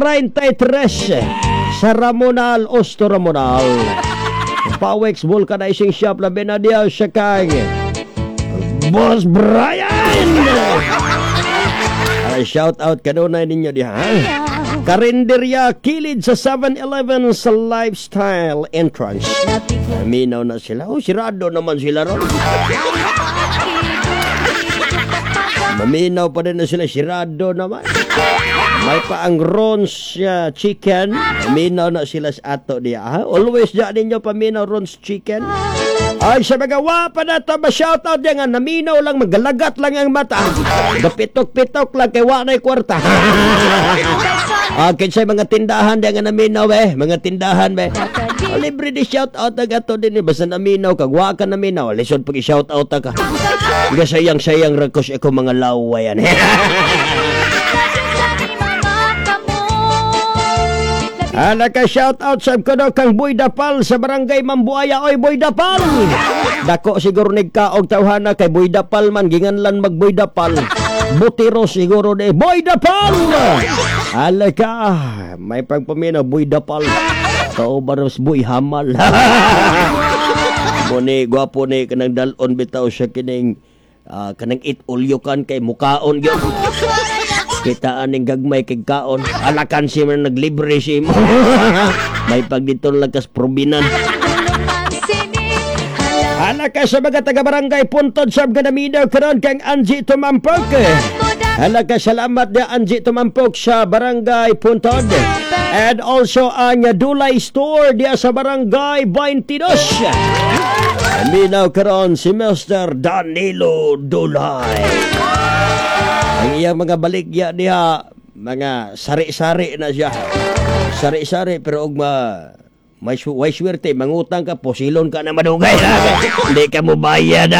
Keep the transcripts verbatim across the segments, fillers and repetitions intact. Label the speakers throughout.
Speaker 1: treinta y tres sa Ramonal, Osto Ramonal. Pawex Vulcanizing Shop, labi na diya sa kang Boss Brian! Ay, shout out kanunay ninyo diha, ha? Karinderya Kilid sa seven-Eleven sa Lifestyle Entrance. Minaw na sila. Oh, sirado naman sila ron. Maminaw pa din na sila. Sirado naman. May pa ang Ron's uh, Chicken. Minaw na sila sa ato diya. Ha? Always diya ninyo paminaw Ron's Chicken. Ay, sa mga wapa na ito, ma-shoutout diya nga, naminaw lang, magalagat lang ang mata. Gapitok-pitok lang, kay wa na'y kwarta. Ah, kinsa mga tindahan diya nga naminaw eh, mga tindahan be. Oh, libre di shout out ang ato din eh, basta naminaw kag wa ka naminaw, lisod pag i-shout out ka. Nga sayang-sayang ra ko sa ako mga laway yan. Ala ka, shout out sa kuno kang Boy Dapal sa Barangay Mambuaya. Oy, Boy Dapal. Dako siguro nigkaog tawhana kay Boy Dapal man, ginganlan mag Boy Dapal. Butiro siguro ni Boy Dapal. Ala ka, may pagpaminaw Boy Dapal. Kaubaros Boy Hamal. Mo ni gwapo ni kanang dalon bitaw siya kining uh, kanang it ulyokan kay mukaon gyud. Kita aning gagmay kay kaon. Alakan si man naglibre si mo. May pag dito lakas probinan. Hala ka sa mga taga-barangay Puntod sa Ganaminaw karon kang Angie Tumampok. Hala ka, salamat dia Angie Tumampok sa Barangay Puntod. And also ang Dulay Store dia sa Barangay twenty-two. Minaw karon si Mister Danilo Dulay. Ang iyang mga baligya diha, mga sari-sari na siya. Sari-sari pero og ma may su way swerte, mangutang ka, posilon ka na madugay. Hindi ka mo bayad.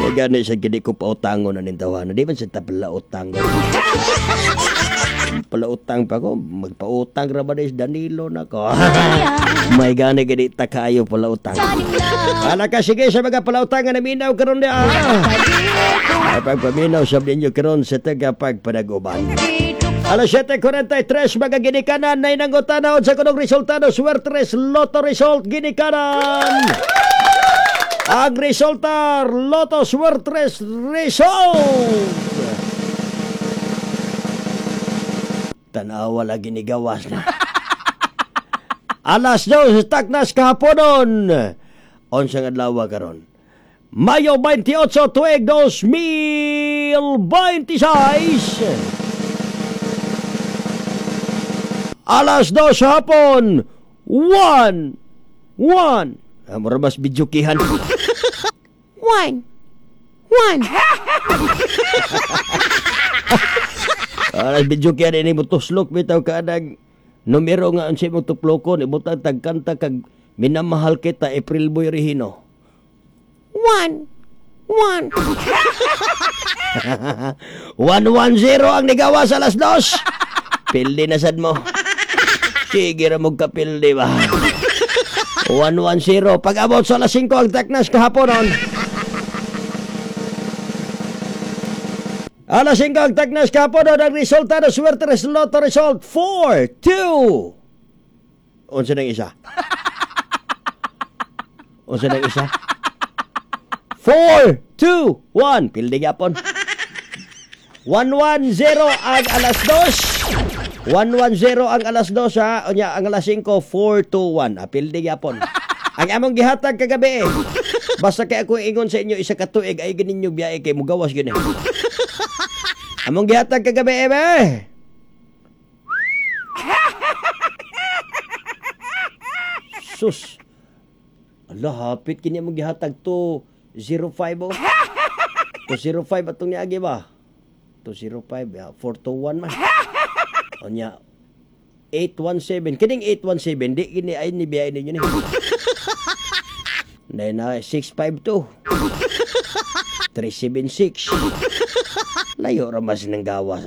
Speaker 1: Kaya gani sa gini ko pautangon na nintawanan. Di man sa pala utang. Pala utang pa ko, magpautang ra ba ni Danilo na ko. May gani gani ta kaayo pala utang. Ala ka, sige sa mga palautang nga naminaw karon di ah. Ay pagpaminaw sa ninyo karon sa taga pagpanaguban. Alas siyete kwarenta y tres mga ginikanan na inangutanaw sa kunong resultado Suertres Lotto Result ginikanan. Ang resulta Lotto Suertres Result. Tanawa lagi ni gawas na. Alas dos taknas kahaponon. Unsang adlaw karon? Mayo twenty-eight tuig dos mil twenty-six. Alas dos hapon. One. One. Ah, mura mas bidyukihan.
Speaker 2: One. One.
Speaker 1: Alas bidyukihan ini mo tuslok bitaw ka nag numero nga unsay mo tuplokon ibutang tagkanta kag minamahal kita April Boy Regino.
Speaker 2: One. One.
Speaker 1: One one zero ang nigawa sa alas dos. Pildi na sad mo. Sige ra mo kapildi ba. One one zero. Pag-abot sa alas singko ang taknas kahaponon. Alas singko ang taknas kahaponon ang resulta ng Suerte Lotto Result four, two. Unsa nang isa? Unsa nang isa? four, two, one. Pildi gyapon. one one zero ang alas dos. one one zero ang alas dos ha. Unya ang alas singko, four two one. Apil di gyapon. Ang among gihatag kagabi eh. Basta kay ako ingon sa inyo isa ka tuig ay ganinyo biyahe kay mugawas gyud eh. Among gihatag kagabi eh be. Sus. Ala, hapit kini among gihatag to zero five oh. two zero five atong niagi ba? two zero five, yeah, four two one man. Onya eight one seven. Kining eight one seven di kini ay ni biyahe ninyo ni. Nay na six five two. three seven six. Layo ra mas nang gawas.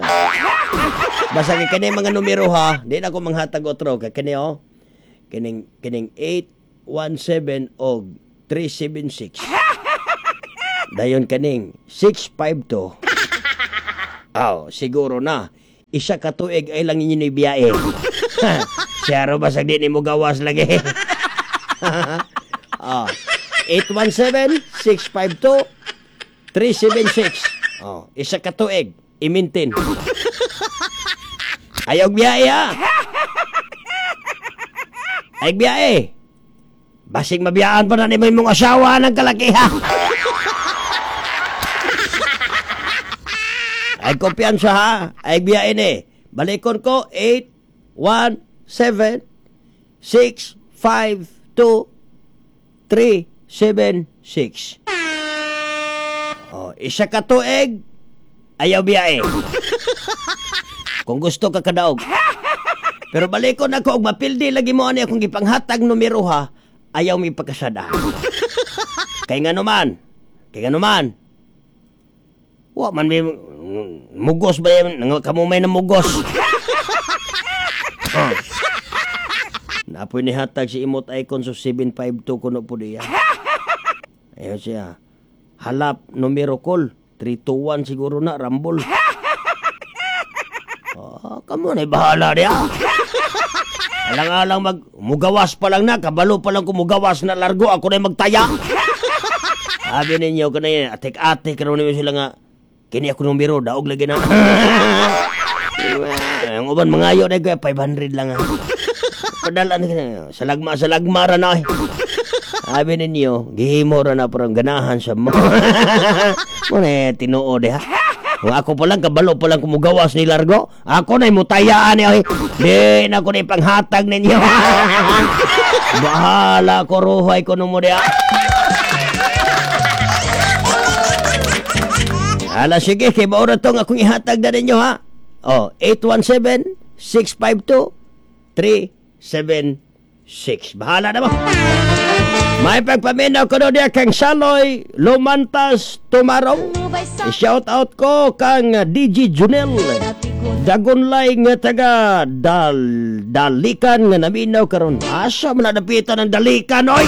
Speaker 1: Basta kay kini mga numero ha, di na ko manghatag otro kay kini oh. Kining kining eight one seven og three seven six. Dayon kaning six five two. Aw, siguro na. Isa ka tuig ay lang ninyo ibiyae. Siyaro basag di ni mo gawas lagi. Oh. eight one seven, six five two, three seven six. Oh, isa ka tuig, i-maintain. Ayaw biyae ha. Ayaw biyae. Basig mabiyaan pa na ni mong asawa ng kalaki ha. Ay kumpiyansa ha. Ay biyae ni. Balikon ko eight one seven, six five two, three seven six. Oh, isa ka tuig, ayaw biyae. Kung gusto ka kadaog. Pero balikon ako og mapildi lagi mo ani akong gipanghatag numero ha, ayaw mi pagkasada. Kay ngano man, kay ngano man. Wa man may mugos ba yan? Kamo may namugos. Oh. Napoy ni hatag si Imot Icon so seven five two kuno po diya. Ayun siya. Halap numero call. three two one siguro na, Rambol. Oh, kamo na bahala diya. Alang-alang mag mugawas pa lang na, kabalo pa lang kung mugawas na largo, ako na magtaya. Sabi ninyo, kanay, atik-atik, karoon ninyo sila nga, kini ako numero, daog lagi na. Ang uban, mangayo na ko, five hundred lang ha. Padala na, salagma, salagma ra na. Sabi ninyo, gihimo ra na parang ganahan sa mo. Muna, tinuod ha. Kung ako pa lang, kabalo pa lang kumugawas ni Largo, ako na'y mutayaan niya. Di na ko na'y panghatag ninyo. Bahala ko, ruhay ko nung mo diya. Ala, sige, kay maura tong akong ihatag na ninyo ha. Oh, eight one seven, six five two, three seven six. Bahala na mo. May pagpaminaw ko doon kang Saloy Lumantas Tumarong. I-shout out ko kang D J Junel Dagunlay nga taga dal, Dalikan nga naminaw karon. Asa man nadapitan ang Dalikan oy.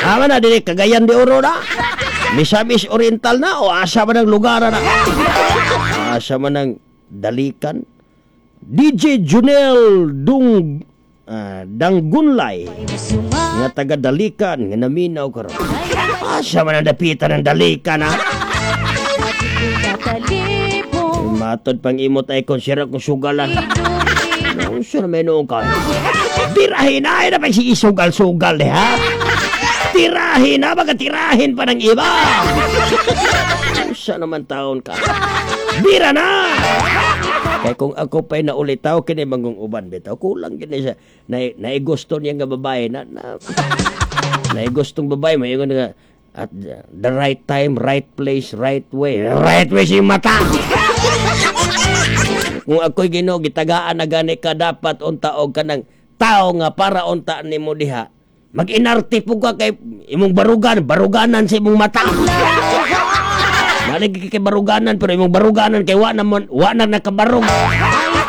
Speaker 1: Ama na dili Cagayan de Oro na. Misamis Oriental na o asa man ang lugar na. Asa man ang Dalikan. D J Junel Dung uh, Danggunlay nga taga Dalikan nga naminaw karon. Asa man ang dapitan ang Dalikan ha. Matod pang imot ay konsera kung sugalan. Unsa na may noong ka? Tirahin na ay na pag isugal-sugal eh ha. Tirahin na baga tirahin pa ng iba. Unsa naman taon ka? Bira na! Kaya kung ako pa'y naulitaw, kini mangong uban bitaw. Kulang kini siya. Na, naigusto niya nga babae. Na, na, naigustong babae. May ingon nga, at the right time, right place, right way. Right way siyang mata! Kung ako'y Ginoo, gitagaan na gani ka, dapat unta og kanang tao nga para unta nimo diha. Mag-inarte po ka kay imong barugan, baruganan sa imong mata. Malig kay baruganan, pero imong baruganan kay wa na man, wa na nakabarog.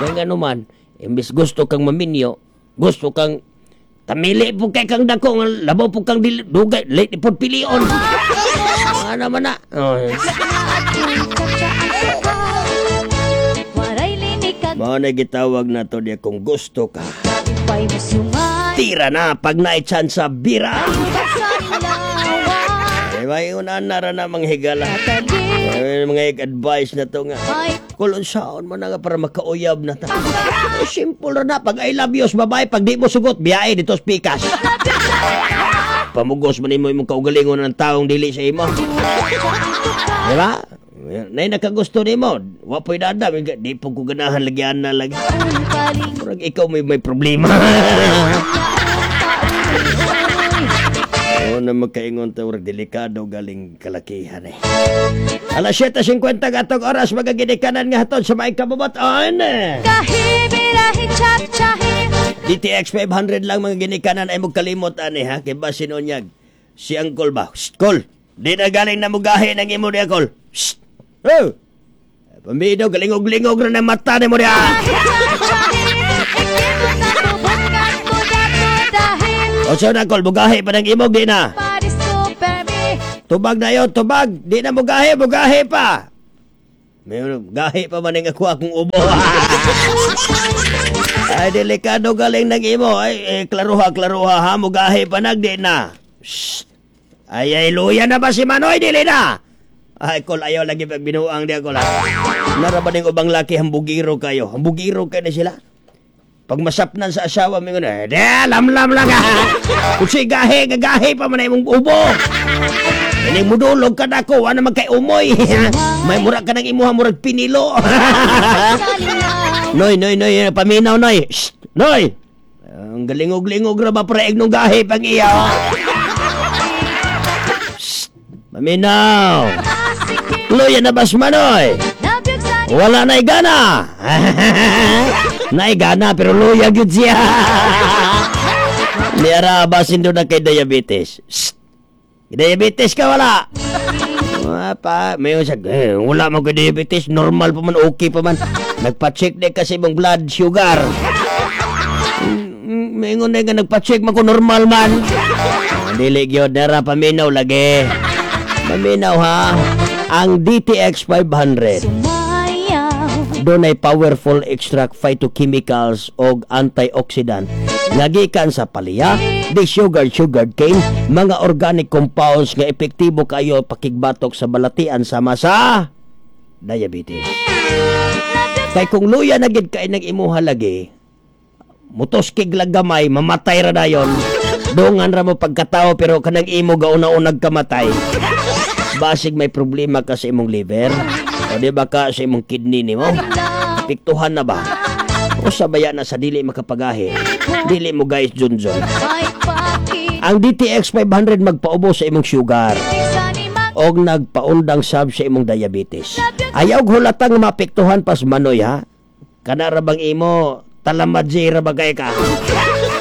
Speaker 1: Kaya nga naman, imbis gusto kang maminyo, gusto kang tamili po kay kang dako, labaw po kang dili, dugay, late po pilion. Ano man na? Oh. Mao na gitawag na to diya kung gusto ka. Tira na pag naitsan sa bira. Diba yun na na mga higala. Ay, mga advice na to nga. Kulon saon mo na nga para makauyab na ta. Eh, simple na pag I love you babae, pag di mo sugot, biyahe dito sa pikas. Pamugos man imo imong kaugalingon ng taong dili sa imo. Diba? Nay nakagusto nimo, wa po'y dada, di po ko ganahan lagyan na lagi. Murag ikaw may may problema. Oo na magkaingon ta, murag delikado galing kalakihan eh. Alas siyete singkwenta gatong oras magaginikanan nga hatod sa maing kabubuton. D T X five hundred lang mga ginikanan ay magkalimot ani ha, kay basin unyag si Uncle ba? Shh, Col, di na galing na mugahe ng imo niya, Col. Shh. Oh! Pambido, galingog-lingog na ng mata ni mo niya. O siya na, Col, bugahe pa ng imog, di na. Tubag na yun, tubag. Di na mugahe, mugahe pa. May gahi pa man ang ako akong ubo. Ay, delikado galing ng imo. Ay, eh, klaruha, klaruha ha. Mugahi pa nagdi na. Shh. Ay, ay, luya na ba si Manoy? Dili na. Ay, kol, ayaw lagi pag binuang di ako lang. Nara ba ning ubang laki, hambugiro kayo? Hambugiro kayo na sila. Pag masapnan sa asawa, may eh, de, lamlam lang ha. Kung si gahi, gagahi pa man na imong ubo. Ining mudulog ka na ko, wala man kay umoy. May mura ka ng imuha, murag pinilo. Noy, noy, noy, paminaw, noy. Shh, noy! Ang galingog-lingog ra ba pre nung gahi pang iya. Shh, paminaw. Luya na bas manoy. Wala na gana. Naigana pero luya gyud siya. Niara basin doon na kay diabetes. Shh. Diabetes ka wala? Ah, pa, may sa eh, wala man kay diabetes, normal pa man, okay pa man. Nagpa-check din kasi imong blood sugar. Mm, May ingon na nga nagpa-check man ko normal man. Ah, dili gyud nara paminaw lagi. Paminaw ha. Ang D T X five hundred doon ay powerful extract phytochemicals og antioxidant nga gikan sa palya, di sugar sugar cane, mga organic compounds nga epektibo kayo pakigbatok sa balatian sama sa diabetes. Kay kung luya na gid kay nang imuha lagi, mutoskig lang gamay, mamatay ra dayon. Dungan ra mo pagkatao pero kanang imo gauna-unag kamatay. Basig may problema ka sa imong liver o di ba ka sa imong kidney nimo? Apektuhan na ba? O sabaya na sa dili makapagahi. Dili mo guys junjun. Ang D T X five hundred magpaubo sa imong sugar og nagpaundang sab sa imong diabetes. Ayaw hulatang maapektuhan pas manoy ha. Kana ra bang imo talamadji ra ba kay ka?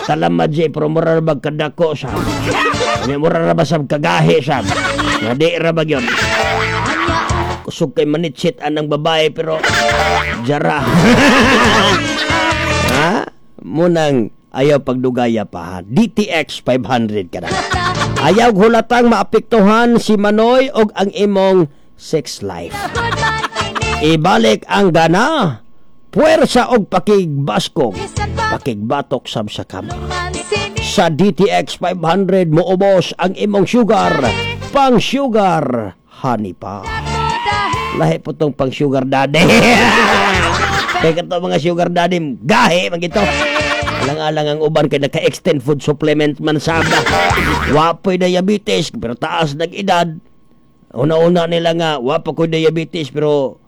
Speaker 1: Talamadji pero mura ra bag kadako sa. Nya mura ra ba sab kagahi sab. Nga di ra ba gyud. Kusog kay manitsit anang babae pero jara. Ha? Munang ayaw pagdugaya pa ha. D T X five hundred ka na. Ayaw hulatang maapektuhan si Manoy og ang imong sex life. Ibalik ang gana, puwersa og pakigbaskog, pakigbatok sab sa kama. Sa D T X five hundred moubos ang imong sugar, pang sugar honey pa. Lahi po tong pang sugar daddy. Kaya kato mga sugar daddy, gahi man gito. Alang-alang ang uban kay naka-extend food supplement man saba. Wapoy diabetes pero taas nag edad. Una-una nila nga wa pa ko'y diabetes pero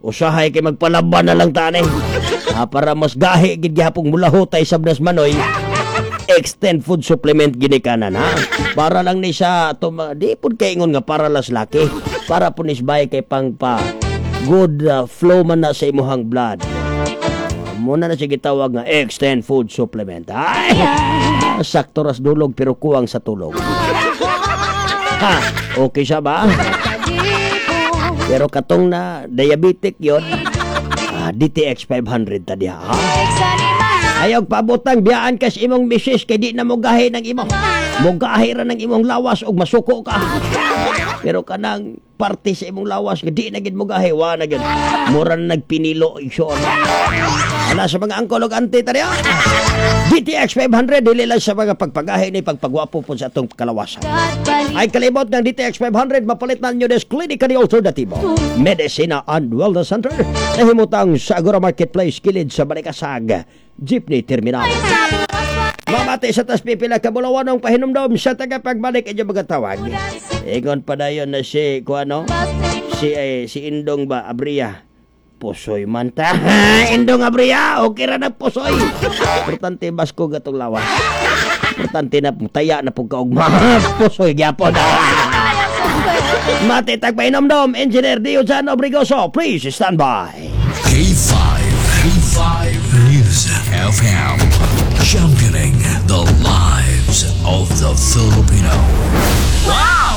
Speaker 1: usahay kay magpalaban na lang tani. Ah, para mas gahi gid gihapong mulahutay sa Blas Manoy. Extend food supplement ginikanan ha. Para lang ni sa ato mga- di pud kay ingon nga para las laki. Para po ni bay kay pang pa good uh, flow man na sa imuhang blood. Muna na siya gitawag nga extend food supplement. Ay! Sakto ras dulog pero kuwang sa tulog. Ha, okay siya ba? Pero katong na diabetic yon, ah, D T X five hundred ta diha. Ha? Ayaw pabutang biyaan kas imong misis kay di na mo gahi ng imo. Mogahi ra ng imong lawas og masuko ka. Pero kanang parte sa imong lawas nga di na gid mo gahi, wa na gid. Mura na nagpinilo igsoon. Ala sa mga angkol og auntie ta diha. D T X five hundred dili lang sa mga pagpagahi ni pagpagwapo po sa atong kalawasan. Ay kalimot ng D T X five hundred mapalit na ninyo des Clinica de Alternativo Medicina and Wellness Center nahimutang sa Agora Marketplace kilid sa Balikasag Jeepney Terminal. Mamati sa tas pipila ka bulawanong pahinumdom sa tagapagbalik inyo mga tawag. Ingon pa dayon na si kuano si eh, si Indong ba Abria. Pusoy man ta. Indong Abria, okay ra na pusoy. Importante basko gatong lawas. Importante na taya na pug kaugma. Pusoy gyapon. Mati tagpainomdom, Engineer Diojan Obrigoso, please stand by.
Speaker 3: K five, K five News F M. Championing the lives of the Filipino. Wow!